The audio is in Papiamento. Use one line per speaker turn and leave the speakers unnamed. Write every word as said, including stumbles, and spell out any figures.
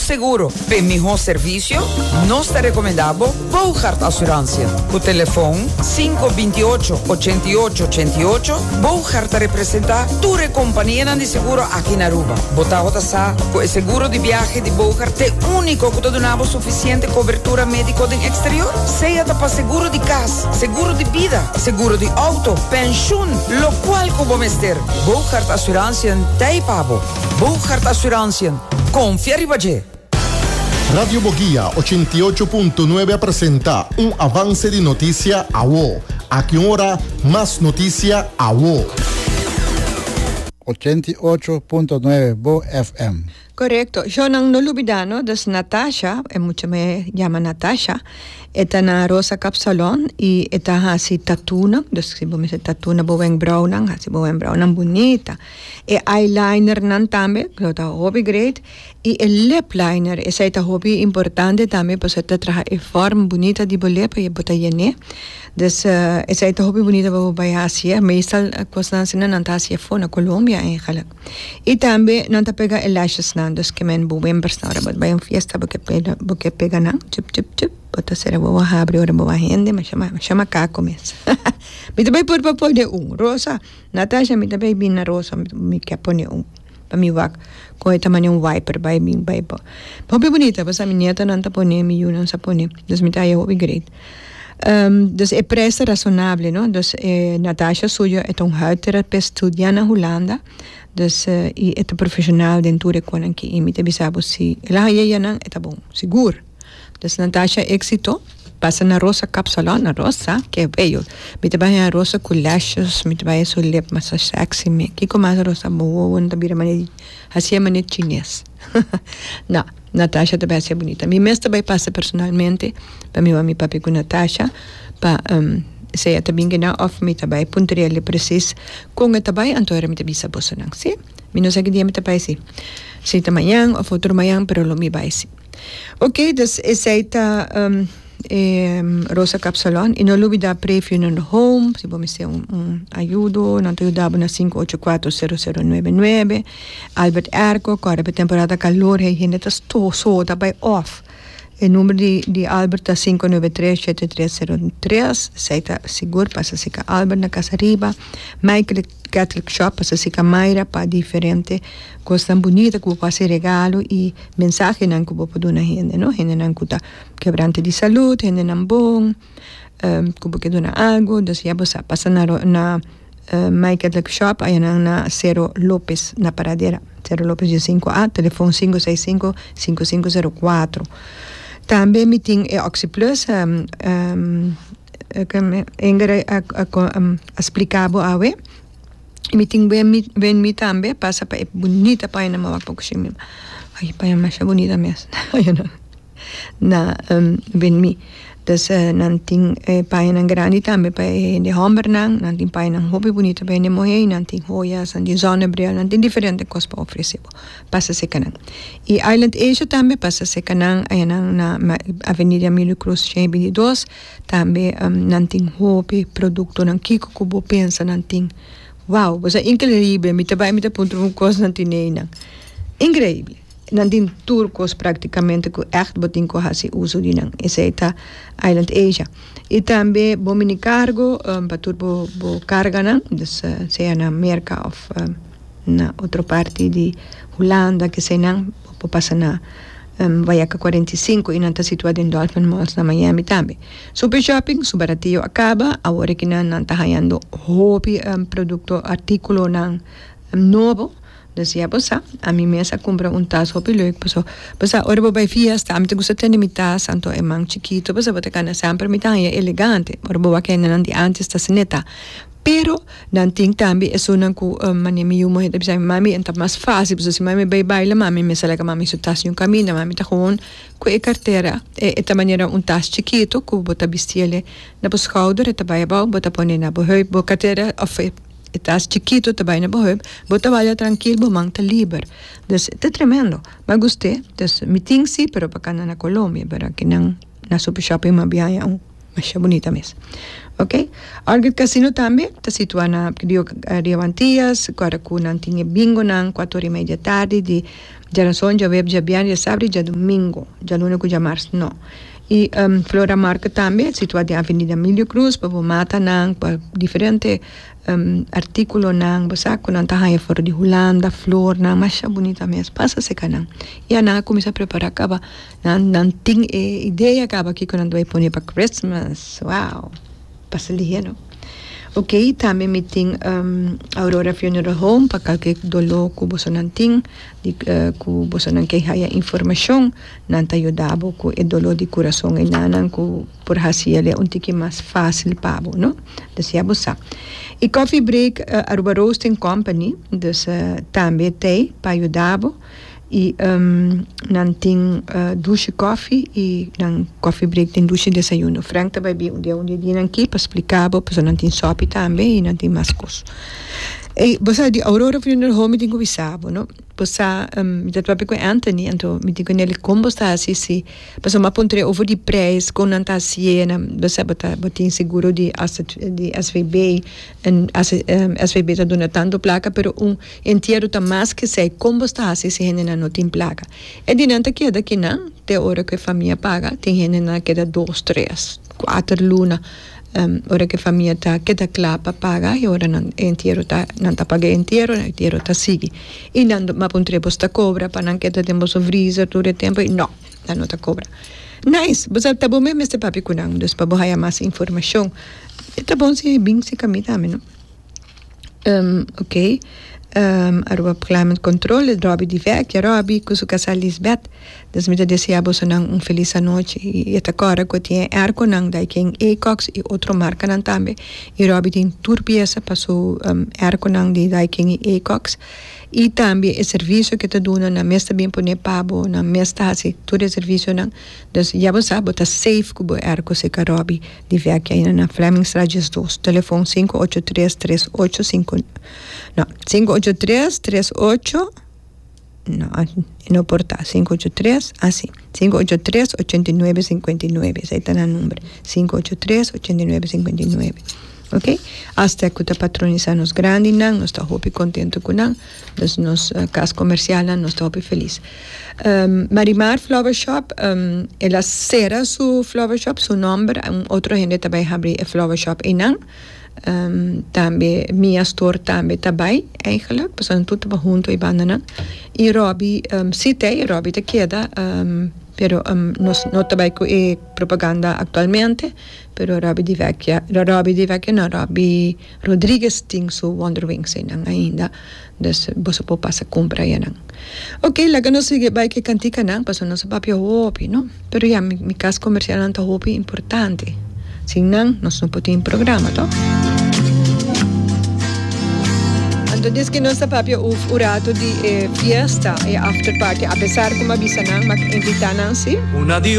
seguro pa miho servicio, nos ta recomenda bo Bogart Assurantie. Cu telefon cinco binti ocho ochenta y ocho ochenta y ocho, Bogart ta representa tur compania di seguro aki na Aruba. Bo ta sa cu e seguro di biahe di Bogart ta unico cu ta duna suficiente cobertura medico den exterior? Sea ta pa seguro di cas, seguro di bida, seguro di auto, pensioen, locual cu bo mester. Bogart Assurantie t'ey pa bo. Bogart Assurantie. Confia riba dje.
Radio Boguia ochenta y ocho punto nuebe presenta un avance di noticia awo. Aki ora, mas noticia awo.
ochenta y ocho punto nuebe Bo F M.
Correcto. Yo no no lubida, no? Dus Natasha, e mucha muhe yama Natasha, e ta na Rosa Cap Salon y e ta hasi tattoo nan, dus si bo mester tattoo na bo wenkbrauw nan, hasi bo wenkbrauw nan bunita. E eyeliner nan tambe, cu ta hopi great, y e lip liner, esey ta hopi importante tambe, pasobra ta traha e forma bunita di bo lip, y bo ta yene. Dus uh, esey ta hopi bunita pa bay hasi, meestal cos nan asina nan ta hasi afo na Colombia eigenlijk. Y tambe nan ta pega e lashes nan, dus kemen bo wimpers na ora bo bay un fiesta, bo ke pega, bo ke pega nan, chup chup chup, bo ta sera bo habri ora bo hende, ma chama chama caco mes. Mi ta bay por pa pone un Rosa, Natasha, mi ta bay bin na Rosa, mi ke pone un pa mi wak cu e tamaño un wiper bay bin bay po. Hopi bunita, pasobra mi nieta nan ta pone, mi yiu sa pone, dus mi ta hopi great. Um, dus e prijs razonabel, no? Dus eh, Natasha suyo e un huidtherapeut, studia na Hulanda. Dus uh, e ta profesional den tur e cosnan aki. Y mi ta bisa bo si el a haya nan, e ta bon, sigur. Dus Natasha, exito. Pasa na Rosa Cap Salon, na Rosa, cu bello. Mi ta bay na Rosa cu lashes, mi ta bay su lip mas sexy, mi. Kico mas Rosa bo, ta bira mane, asina mane chines. No, Natasha ta bay ser bunita. Mi mes ta bay pasa personalmente, pa mi mi papia cu Natasha, pa um, sea ta bin na of mi ta bay puntrele precies con e ta bay, anto era mi ta bisa boso nan, si? Mi no sa ki dia mi ta bay si. Si ta mañan of otro mañan, pero lo mi bay si. Ok, dus esey ta um, eh, Rosa Cap Salon. Y no lubida Pre Funeral Home, si bo mester un, un ayudo, nan ta yuda na cinco ocho cuatro, cero cero nuebe nuebe. Albert Airco, awor pa temporada calor, hende ta soda bay off. E number di, di Albert ta cinco nuebe tres, siete tres cero tres. Esey ta sigur, pasa serca Albert na Cas Ariba. Michael Catholic Shop, pasa serca Mayra pa diferente cos tan bunita cu bo haci regalo y mensahe nan cu bo por duna hende, no? Hende nan cu ta kebrante di salud, hende nan bon, um, cu bo ke duna algo, dus ya bo pasa na na uh, My Catholic Shop, ey na, na Cero Lopez, na Paradera. Cero Lopez di cinco A, telefon cinco seis cinco, cinco cinco cero cuatro. Tambe mi tin e OxyPlus, um, um, Ingrid a, a, a, a splica bo awe. Mi tin wen wen mi tambe, pasa pa e bunita paña na mawak po siya. Ay, paña mas bunita mes. Ayun na. Na um, wen mi. Dus uh, nan tin eh, paña nan grandi tambe pa e homber nan, nan tin paña nan hopi bunita pa e muhe, nan tin joyas, nan tin zonnebril, nan tin diferente cos pa ofrece. Pasa serca nan. Y Island Asia tambe pasa serca nan, ey nan na Avenida Emilio Cruz shen binti dos, tambe um, nan tin hopi producto nan kiko cu bo pensa nan tin. Wow, bo increibel, mi tambe mi ta punto un cos nan tin nan. Increibel. Nan tin tur cos practicamente cu echt bo tin cu hasi uso di nan. Esey ta Island Asia. Y tambe bo mini cargo, um, pa tur bo, bo carga nan, dus uh, sea na America of um, na otro parti di Hulanda, cu sea nan, bo pasa na um, Wayaca cuarenta y cinco y nan ta situa den Dolphin Malls na Miami tambe. Super Shopping, su baratillo a caba, awor cu nan nan ta hayando hopi um, producto, articulo nan um, nobo. Dus ja, bo sa, ami mes a cumpra un tas hopi leuk. Paso, bo sa, ora bo bay fiesta, ami ta gusta tene mi tas, anto e man chikito, bo sa, bo ta cana semper mi ta elegante. Ora bo wak nan di antes ta seneta. Pero nan tin tambe esunnan cu um, mane mi yiu muhe ta bisa mami e ta mas facil, paso si mami bay baila, mami me sala mami su tas yung camina, mami ta gewoon cu e cartera e, e ta manera un tas chikito cu bo ta bistiele na bo schouder, e ta bay abou, bo ta pone na bo heup, bo cartera of e, e tas chikito ta bay na bo heup, bo ta baila trankil, bo man ta liber. Dus ta tremendo. Mi gusta, dus mi tin si, pero pa na Colombia, pero aki nan na Super Shopping m'a haya un masha bunita mes. Ok? Orchid Casino tambe ta situa na Rio, Rio Antillas, awor cu nan tin bingo nan cuater y mei di atardi di Djarason, djaweps, djabièrnè, djasabra i djadumingu. Djaluna ku djamars no. I um, Flora Market tambe, situá den Avenida Emilio Cruz, pa bo matanan, pa diferente um, artíkulonan, bo sa ku nan ta haña for di Hulanda, flornan, masha bunita mes, pasa serka nan. I nan a kuminsá prepará kaba, nan, nan tin e idea kaba kiko nan ta bai pone pa Christmas. Wow, pasa lihé, no? Ok, tambe mi tin um, Aurora Funeral Home, pa kualke doló ku bosonan tin, di, uh, ku bosonan ke haya informashon, nan ta yuda bo ku e doló di kurason einan ku por hasi un tiki mas fásil pa bo, no? Dus ya bo sa. I Coffee Break uh, Aruba Roasting Company, dus uh, tambe t'ei pa yuda bo. I um, nan tin uh, dushi coffee i nan Coffee Break tin dushi desayuno. Frank tambe bin un dia un dia nan aki pa splika bo, pasobra nan tin sopi tambe i nan tin mas kos. E bo sa di Aurora Funeral Home tin ku bisa bo, no? Bo sa um, mi tabata papia ku Anthony, anto mi di kuné kon bo ta hasi si, pasobra m'a puntr'é over di prijs, kon nan ta hasié, bo sa bo ta bo tin seguro di di S V B en um, S V B ta duna tantu plaka, pero un entiero ta mas ku esei, kon bo ta hasi si hende no tin plaka. E di nan ta keda akinan, te ora ku e famia paga, tin hende nan keda dos, tres, kuater luna. Um, ora ku e famia ta keda kla pa paga i ora nan entiero ta nan ta paga entiero, entiero ta sigui. I nan m'a puntr'é, bo ta kobra pa nan keda den boso freezer tur e tempu? No, nan no ta kobra. Nice, bo ta bon mes mester papia ku nan, dus pa bo haya mas informashon. Ta bon si bin serka mi tambe, no? Um, ok. Um, Aruba Climate Control, Robbie di Vecchia, Robbie ku su kasá Lisbeth. Dus mi ta deseá bosonan un felis anochi. I ta kòrda ku tin airconan Daikin, Ecox i otro markanan tambe. I Robbie tin tur piesa pa su um, airconan di Daikin i Ecox. I tambe e servisio ku e ta duna, nan mes ta bin pone pa bo, nan mes ta hasi tur e servisionan. Dus ya bo sa, bo ta safe ku bo airco serka Robbie di Vecchia na Flemingstraat dos. Telefon sinku ocho tres tres ocho sinku, no, sinku ocho tres tres ocho, no, no por ta sinku ocho tres, asina, sinku ocho tres ochenta i nuebe sinkuenta i nuebe, esei ta e number, sinku ocho tres ochenta i nuebe sinkuenta i nuebe. Ok? Hasta ku ta patronisá nos grandinan, nos ta hopi kontentu ku nan, dus nos uh, kas komersial, nos ta hopi felis. Um, Marimar Flower Shop, um, el a sera su flower shop, su nòmber, un otro hende tambe a habri e flower shop einan. Um, tambe Mia Store tambe tambe eigenlijk, pasobra tur ta huntu e bandanan. I Robbie, um, si tin, Robbie ta keda, um, pero um, nos no ta ku e propaganda aktualmente, pero Robbie di Vecchia, Robbie di Vecchia no, Robbie Rodriguez tin su Wonder Wings einan ainda, dus bo por pasa kumpra einan. Ok, laga nos sigui bai ku kantikanan, pasobra nos papia hopi, no? Pero ya, mi, mi kas komersial ta hopi importante. Sin nan, nos no por tin programa, toch? Anto, desde ku nos papia un rato di eh, fiesta i after party, apesar ku m'a bisa nan, m'a invitá nan, si?
Una